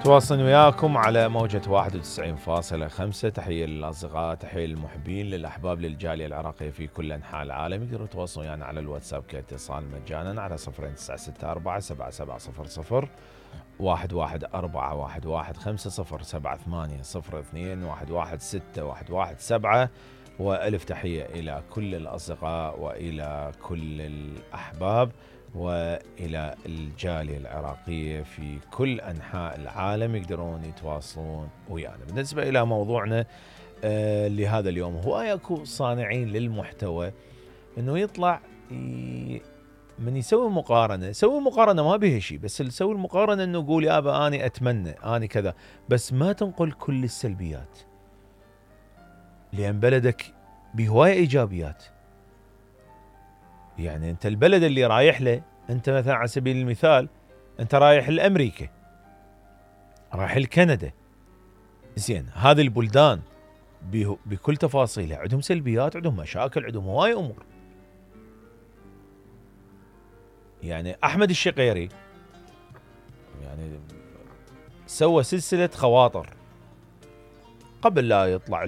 تواصل وياكم على موجة 91.5. تحية للأصدقاء، تحية للمحبين، للأحباب، للجالية العراقية في كل أنحاء العالم. يقدروا يتواصلون ويانا على الواتساب كاتصال مجانا على 0964 7700 11415078002116117. وألف تحية إلى كل الأصدقاء وإلى كل الأحباب وإلى الجالية العراقية في كل أنحاء العالم. يقدرون يتواصلون ويانا. بالنسبة إلى موضوعنا لهذا اليوم، هو أكو صانعين للمحتوى أنه يطلع من يسوي مقارنة ما بيها شيء، بس يسوي المقارنة أنه يقول يابا أنا أتمنى أنا كذا، بس ما تنقل كل السلبيات، لأن بلدك بهواية إيجابيات. يعني أنت البلد اللي رايح له، أنت مثلا على سبيل المثال أنت رايح لأمريكا، رايح لكندا، زين هذه البلدان بكل تفاصيلها عندهم سلبيات، عندهم مشاكل، عندهم هواي أمور. يعني أحمد الشقيري يعني سوى سلسلة خواطر قبل لا يطلع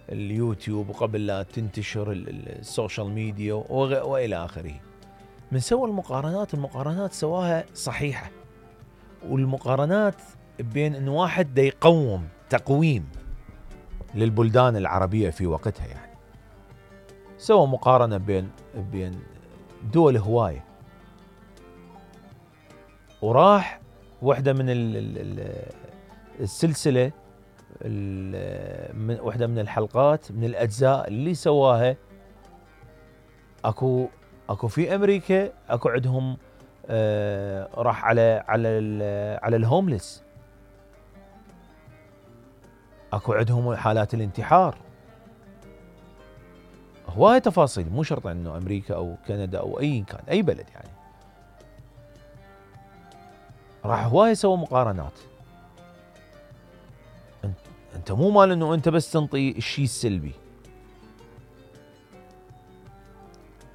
اليوتيوب وقبل لا تنتشر السوشيال ميديا وإلى آخره. من سوى المقارنات سواها صحيحة، والمقارنات بين أن واحد دا يقوم تقويم للبلدان العربية في وقتها. يعني سوى مقارنة بين دول هواية، وراح واحدة من السلسلة، واحدة من الحلقات من الأجزاء اللي سواها، أكو في أمريكا أكو عندهم راح على الهوملس، أكو عندهم حالات الانتحار، هواية تفاصيل. مو شرط إنه أمريكا أو كندا أو أي كان أي بلد، يعني راح هواية سوى مقارنات. أنت مو مال إنه أنت بس تنطي الشيء السلبي،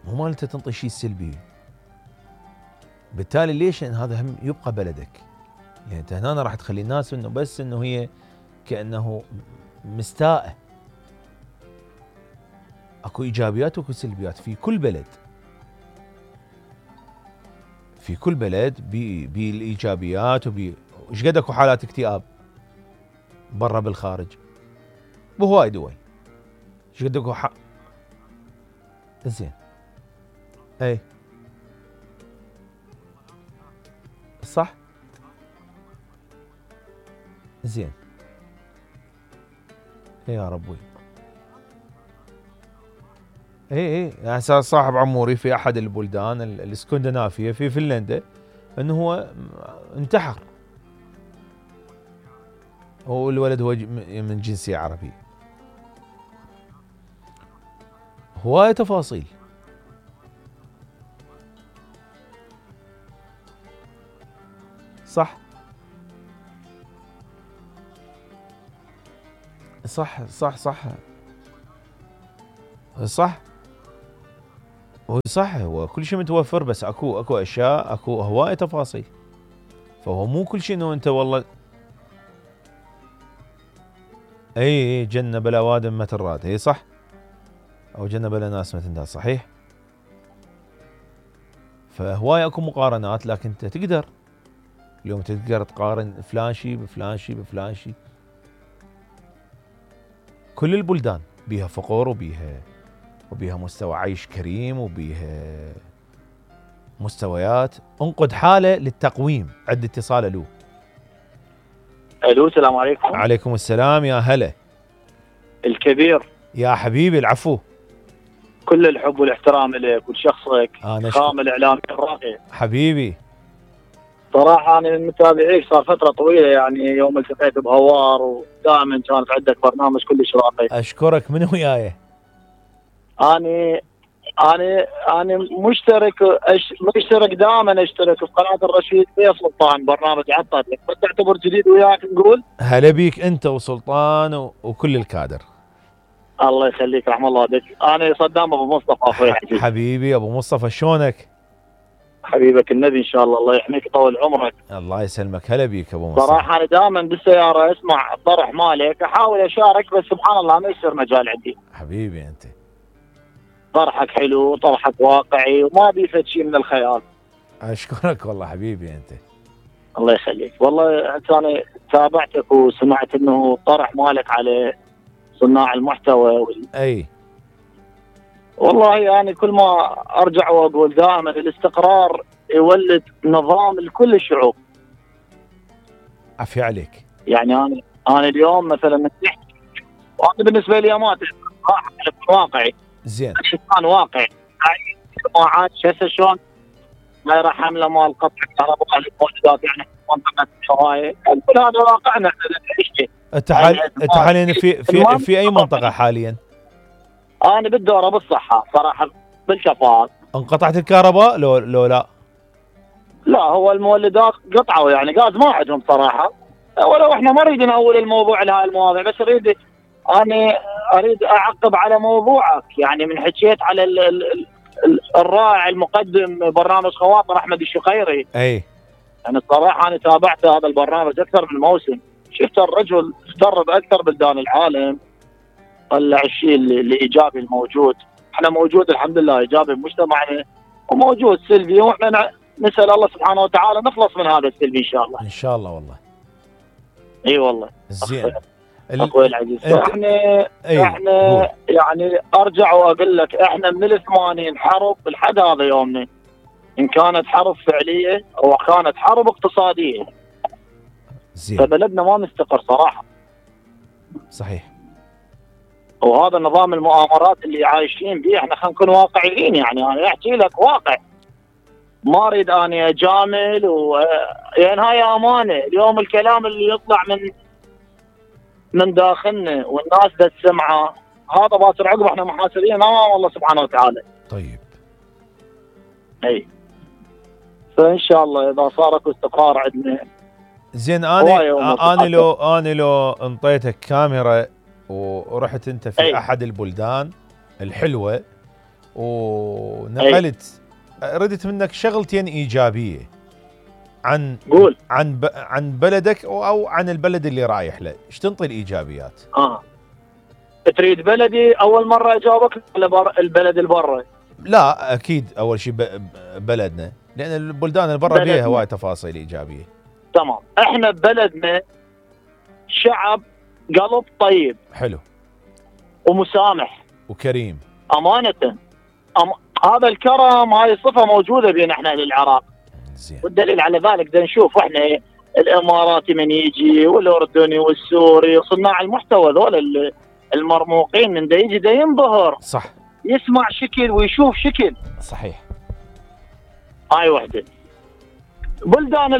مو مال أنت تنطي الشيء السلبي. بالتالي ليش؟ لأن هذا هم يبقى بلدك. يعني أنت هنا راح تخلي الناس إنه بس إنه هي كأنه مستاءة. أكو إيجابيات وأكو سلبيات في كل بلد، في كل بلد بالإيجابيات إيش قد أكو حالات اكتئاب برا بالخارج بهواي دول. إيش قد أكو زين أي صح زين يا ربي. اي يعني صاحب عموري في احد البلدان الاسكندنافيه في فنلندا انه هو انتحر، هو الولد هو من جنسيه عربيه. هواية تفاصيل. صح صح صح صح صح صح. هو كل شيء متوفر، بس اكو اشياء، اكو هواية تفاصيل. فهو مو كل شيء انه انت والله اي جنة بلا وادم ما تراد. اي صح، او جنة بلا ناس ما تنداد. صحيح. فهواية اكو مقارنات، لكن انت تقدر اليوم تقدر تقارن فلان شيء بفلان شيء بفلان شيء. كل البلدان بيها فقر وبيها مستوى عيش كريم وبيها مستويات. انقد حالة للتقويم. عد اتصال. الو السلام عليكم. عليكم السلام يا هلا. الكبير يا حبيبي العفو. كل الحب والاحترام لك ولشخصك خام الاعلامي الراقي حبيبي. صراحة أنا من متابعيك صار فترة طويلة، يعني يوم التقيت بهوار ودائما كانت عندك برنامج كلش راقي. أشكرك. من وياي؟ أنا مشترك دائما، أشترك في قناة الرشيد بيه سلطان، برنامج عطت لك، بس تعتبر جديد وياك نقول هلا بيك أنت وسلطان وكل الكادر. الله يخليك، رحم الله بك. أنا صدام أبو مصطفى أخوي. حبيبي أبو مصطفى، شلونك؟ حبيبك النبي ان شاء الله، الله يحميك ويطول عمرك. الله يسلمك، هلا بيك ابو مصطفى. صراحه انا دائما بالسياره اسمع الطرح مالك، احاول اشارك بس سبحان الله ما يصير مجال عندي. حبيبي انت، طرحك حلو، طرحك واقعي وما بيفت شيء من الخيال. اشكرك والله حبيبي انت. الله يخليك. والله انا تابعتك وسمعت انه طرح مالك على صناع المحتوى اي والله يعني كل ما ارجع واقول دائما الاستقرار يولد نظام لكل الشعوب. عافية عليك. يعني انا اليوم مثلا نجحت، وانا بالنسبه لي ما واقعي زين. انسان واقعي. الجماعات هسه شلون دايره حمله مال قطع الكهرباء الموجودات يعني في منطقه الشوايه، كل هذا واقعنا احنا نعيشه. انت حاليا في اي منطقه حاليا؟ انا بالدوره بالصحه صراحه بالكفاءات. انقطعت الكهرباء لو لا؟ لا هو المولدات قطعوا يعني غاز ما عندهم صراحه، ولو احنا ما نريد نأول الموضوع لهاي المواضيع، بس اريد اعقب على موضوعك. يعني من حكيت على الرائع المقدم برنامج خواطر احمد الشقيري. اي يعني الصراحه انا تابعت هذا البرنامج اكثر من موسم، شفت الرجل افتر باكثر بلدان العالم، طلع الشيء الايجابي الموجود. احنا موجود الحمد لله ايجابي بمجتمعنا وموجود سلبي، واحنا نسال الله سبحانه وتعالى نخلص من هذا السلبي ان شاء الله. ان شاء الله والله. اي والله. زين اخوي العزيز، احنا يعني ارجع واقول لك احنا من ال80 حرب لحد هذا يومنا، ان كانت حرب فعليه او كانت حرب اقتصاديه. زين. فبلدنا ما مستقر صراحه. صحيح. وهذا نظام المؤامرات اللي عايشين به، احنا خلينا نكون واقعيين. يعني انا احكي لك واقع، ما اريد اني اجامل يعني هاي امانه. اليوم الكلام اللي يطلع من داخلنا والناس دا تسمعه هذا باكر عقب احنا محاسبين امام الله سبحانه وتعالى. طيب. اي فان شاء الله اذا صار اكو استقرار عندنا. زين. انا لو انطيتك كاميرا ورحت انت في احد البلدان الحلوه ونقلت، ردت منك شغلتين ايجابيه عن بلدك او عن البلد اللي رايح له، ايش تنطي الايجابيات؟ تريد بلدي اول مره اجاوبك ولا البلد اللي برا؟ لا اكيد اول شيء بلدنا، لان البلدان اللي برا فيها هواي تفاصيل ايجابيه. تمام. احنا ببلدنا شعب قلب طيب، حلو ومسامح وكريم امانه. هذا الكرم هاي الصفه موجوده بين احنا للعراق. زين. والدليل على ذلك بدنا نشوف احنا الاماراتي من يجي والاردني والسوري وصناع المحتوى ذول المرموقين من دا يجي دا ينبهر. صح. يسمع شكل ويشوف شكل. صحيح. هاي وحده. بلدان